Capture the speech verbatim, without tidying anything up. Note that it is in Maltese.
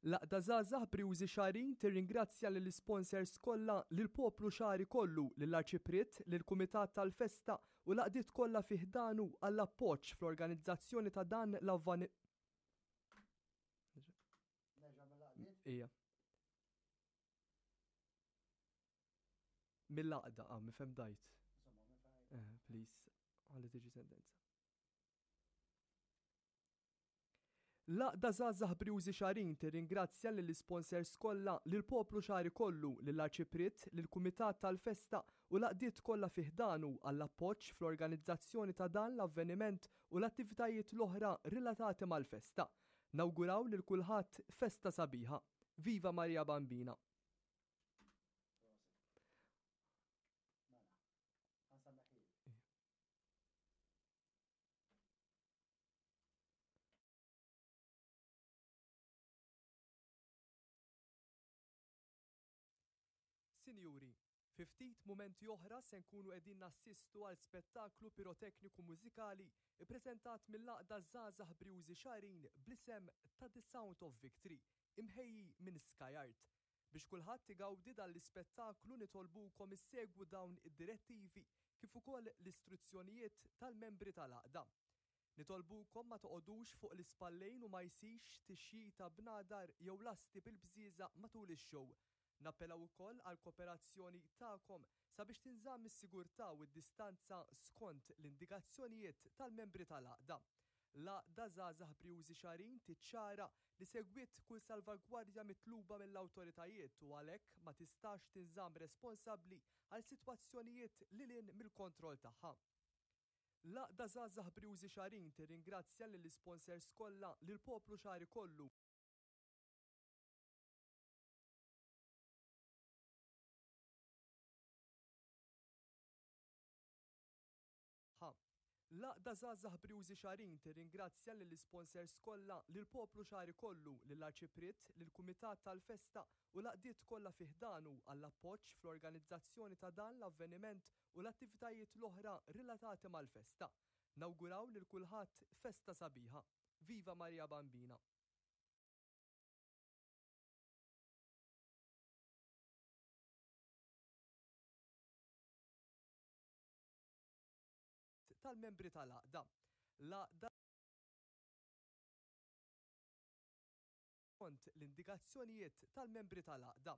L-Għaqda Żgħażagħ Brijużi Xagħrin tirringrazzja lill-isponsors kollha, lill-poplu Xagħri kollu, lill-Arċipriet, lill-Kumitat tal-Festa u l-għaqdiet kollha fi ħdanu għall-appoġġ fl-organizzazzjoni ta' dan l-avvan. Ija. Mill-għaqda, ah, mifhem dajt. Eh, please, għalli tiġi sentenza. L-Għaqda Żgħażagħ Brijużi Xagħrin tirringrazzja lill-isponsors kollha, lill-poplu Xagħri kollu, lill-Arċipriet, lill-Kumitat tal-Festa u l-għaqdiet kollha fi ħdanu għall-appoġġ fl-organizzazzjoni ta' dan l-avveniment u l-attivitajiet l-oħra relatati mal-festa. Nawguraw lil kulħadd festa sabiħa. Viva Marija Bambina! Sinjuri, fi ftit mumenti oħra se nkunu qegħdin nassistu għal spettaklu pirotekniku mużikali ppreżentat mill-Għaqda Żgħażagħ Brijużi Xagħrin bl-isem ta' The Sound of Victory, imħejji minn Sky Art. Biex kulħadd igawdi dan l-ispettaklu nitolbukom issegwu dawn id-direttivi kif ukoll l-istruzzjonijiet tal-membri tal-għaqda. Nitolbukom ma toqogħdux fuq l-ispallejn u ma jsirx tixjita b'nadar jew lasti bil-bżieżaq matul ix-show. Nappellaw ukoll għall-kooperazzjoni tagħkom sabiex tinżamm is-sigurtà u d-distanza skont l-indikazzjonijiet tal-membri tal-għaqda. L-Għaqda Żgħażagħ Brijużi Xagħrin tiċċara li segwiet kull salvagwardja mitluba mill-awtoritajiet u għalhekk ma tistax tinżamm responsabbli għal sitwazzjonijiet lil hinn mill-kontroll tagħha. L-Għaqda Żgħażagħ Brijużi Xagħrin tirringrazzja lill-isponsors kollha, lill-poplu Xagħri kollu, L-Għaqda Żgħażagħ Brijużi Xagħrin tirringrazzja lill-isponsors kollha, lill-poplu Xagħri kollu, lill-Arċipriet, lill-Kumitat tal-Festa u l-għaqdiet kollha fi ħdanu għall-appoġġ fl-organizzazzjoni ta' dan l-avveniment u l-attivitajiet l-oħra relatati mal-festa. Nawguraw lil kulħadd festa sabiħa. Viva Marija Bambina! Tal-membri tal-għaqda. L-għaqda skont l-indikazzjonijiet tal-membri tal-għaqda.